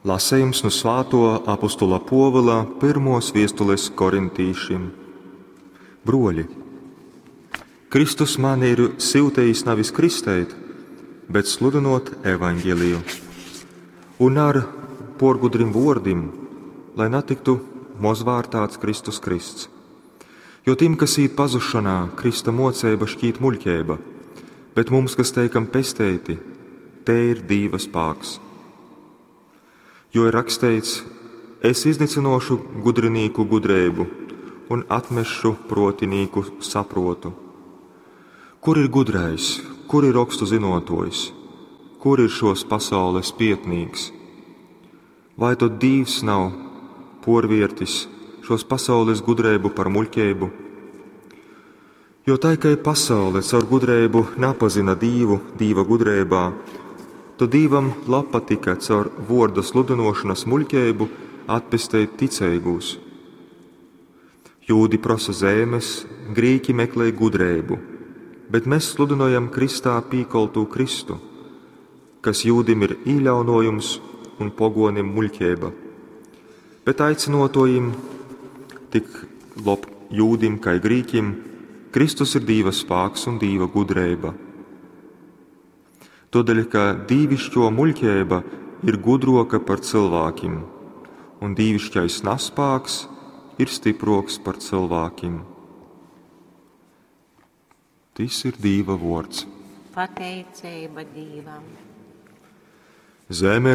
Lasejums nu svātuo apostula Puovula pyrmuos viestules korintīšim. Bruoļi, Kristus mani ir syutejis navis kristeit, bet sludynuot evaņgeliju. Un ar puorgudrim vuordim, lai natyktu mozvārtāts Kristus krysts. Jo tim, kas īt pazusšonā, Krista muoceiba šķīt muļķeiba, bet mums, kas teikam pesteiti, te ir Dīva spāks. Jo ir raksteits: Es iznycynuošu gudrinīku gudreibu un atmesšu pruotinīku sapruotu. Kur ir gudrais, kur ir rokstu zynuotuojs, kur ir šuos pasaules pietnīks? Vai tod Dīvs nav puorviertis šuos pasaules gudreibu par muļķeibu? Jo tai kai pasaule caur gudreibu napazyna Dīvu Dīva gudreibā, tod Dīvam labpatyka caur vuorda sludynuošonys muļķeibu atpesteit ticeigūs. Jūdi prosa zeimes, grīki meklej gudreibu, bet mes sludynojam krystā pīkoltū Kristu, kas jūdim ir īļaunojums un poguonim muļķeiba. Bet aicynuotojim, tik lob jūdim kai grīkim, Kristus ir Dīva spāks un Dīva gudreiba. Tuodeļ, ka dīvišķuo muļķeiba ir gudruoka par cylvākim, un dīvišķais naspāks ir stypruoks par cylvākim. Tys ir Dīva vuords. Pateiceiba Dīvam. Zeme.